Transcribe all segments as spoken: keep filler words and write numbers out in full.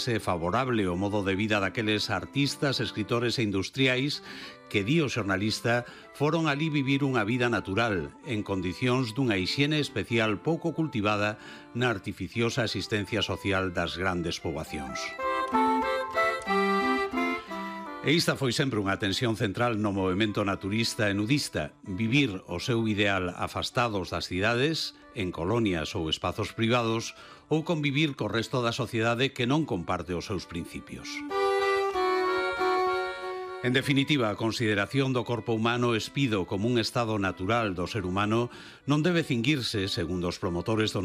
é favorable ao modo de vida daqueles artistas, escritores e industriais que, di o xornalista, foron alí vivir unha vida natural, en condicións dunha hixiene especial pouco cultivada na artificiosa asistencia social das grandes poboacións. E esta foi sempre unha tensión central no movemento naturista e nudista, vivir o seu ideal afastados das cidades, en colonias ou espazos privados, ou convivir co resto da sociedade que non comparte os seus principios. En definitiva, a consideración do corpo humano espido como un estado natural do ser humano non debe cinguirse, segundo os promotores do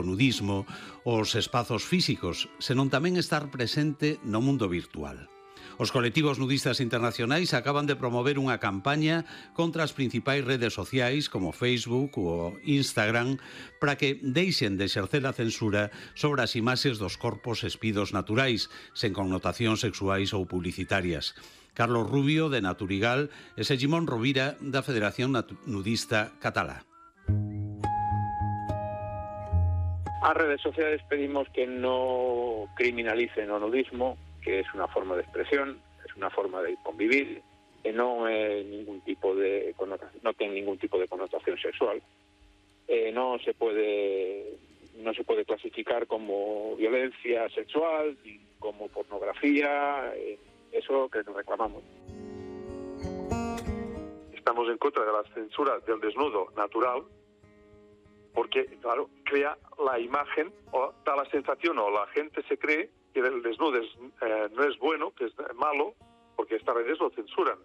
nudismo, os espazos físicos, senón tamén estar presente no mundo virtual. Os colectivos nudistas internacionais acaban de promover unha campaña contra as principais redes sociais como Facebook ou Instagram para que deixen de exercer a censura sobre as imaxes dos corpos espidos naturais, sen connotacións sexuais ou publicitarias. Carlos Rubio, de Naturigal, e Segimón Rovira, da Federación Nudista Catalá. As redes sociais pedimos que no criminalicen o nudismo, que es una forma de expresión, es una forma de convivir, que no es ningún tipo de connotación, no tiene ningún tipo de connotación sexual. Eh, no se puede no se puede clasificar como violencia sexual ni como pornografía, eh, eso que nos reclamamos. Estamos en contra de la censura del desnudo natural, porque, claro, crea la imagen o da la sensación o la gente se cree que el desnudo es, eh, no es bueno, que es malo, porque estas redes lo censuran.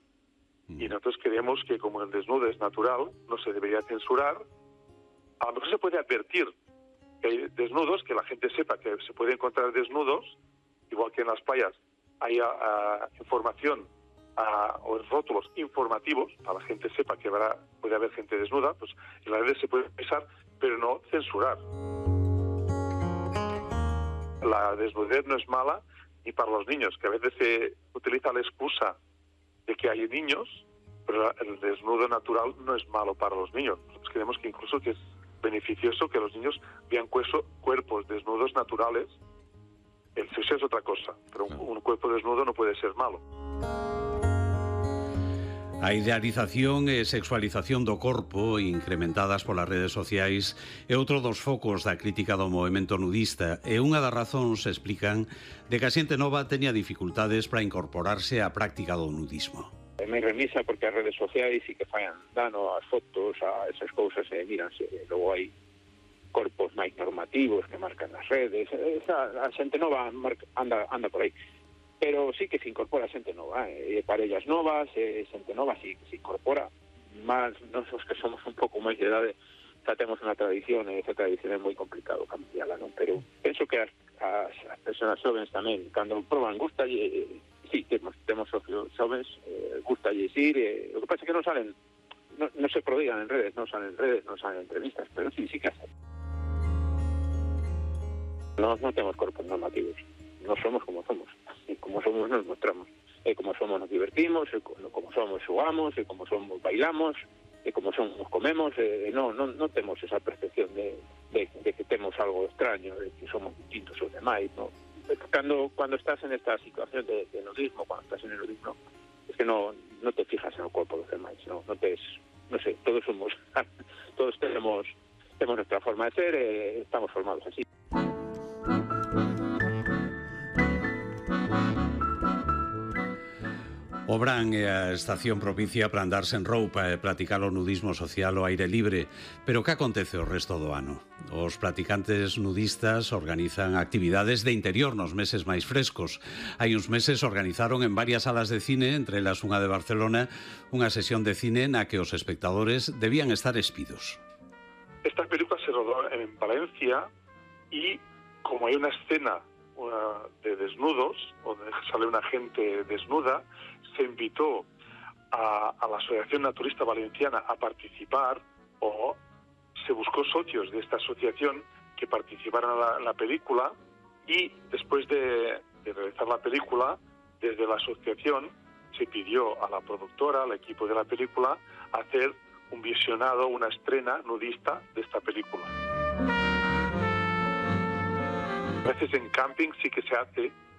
Y nosotros creemos que como el desnudo es natural, no se debería censurar. A lo mejor se puede advertir que hay desnudos, que la gente sepa que se puede encontrar desnudos, igual que en las playas hay a, a, información a, o en rótulos informativos, para que la gente sepa que habrá, puede haber gente desnuda, pues en las redes se puede pensar, pero no censurar. La desnudez no es mala ni para los niños, que a veces se utiliza la excusa de que hay niños, pero el desnudo natural no es malo para los niños. Nosotros creemos que incluso que es beneficioso que los niños vean cuerpos desnudos naturales. El sexo es otra cosa, pero un, un cuerpo desnudo no puede ser malo. A idealización e sexualización do corpo incrementadas polas redes sociais é outro dos focos da crítica do movemento nudista e unha das razóns explican de que a xente nova teña dificultades para incorporarse á práctica do nudismo. É moi remisa porque as redes sociais sí que fallan dano as fotos, a esas cousas e míranse, logo hai corpos máis normativos que marcan as redes, esa, a xente nova anda, anda por aí. Pero sí que se incorpora xente nova, eh, parellas novas, eh, xente nova sí que se incorpora, máis nos que somos un pouco máis de idade, xa temos unha tradición, e esa tradición é moi complicado cambiarla, non? Pero penso que as, as, as persoas xovens tamén, cando proban, gusta, eh, sí, temos, temos socios xovens, eh, gusta ir, eh, o que pasa é que non salen, non, non se prodigan en redes, non salen en redes, non salen en entrevistas, pero sí, sí que hacen. Nos non temos corpos normativos, non somos como somos. E como somos nos mostramos, e como somos nos divertimos, e como somos xogamos, e como somos bailamos, e como somos comemos, e non, non, non temos esa percepción de, de, de que temos algo extraño, de que somos distintos aos demais, non? Cando, cuando estás en esta situación de, de nudismo, cuando estás en el nudismo, es que no, no te fijas en el cuerpo de los demás, no, no te, no sé, todos somos, todos tenemos, tenemos nuestra forma de ser, eh, estamos formados así. O Bran é a estación propicia para andar sen roupa e practicar o nudismo social ao aire libre. Pero que acontece o resto do ano? Os practicantes nudistas organizan actividades de interior nos meses máis frescos. Hai uns meses organizaron en varias salas de cine, entre elas unha de Barcelona, unha sesión de cine na que os espectadores debían estar espidos. Esta película se rodó en Valencia y como hay una escena una, de desnudos, donde sale una gente desnuda, se invitó a, a la Asociación Naturista Valenciana a participar, o se buscó socios de esta asociación que participaran en la, en la película, y después de, de realizar la película, desde la asociación se pidió a la productora, al equipo de la película, hacer un visionado, una estrena nudista de esta película. A veces en camping sí que se hace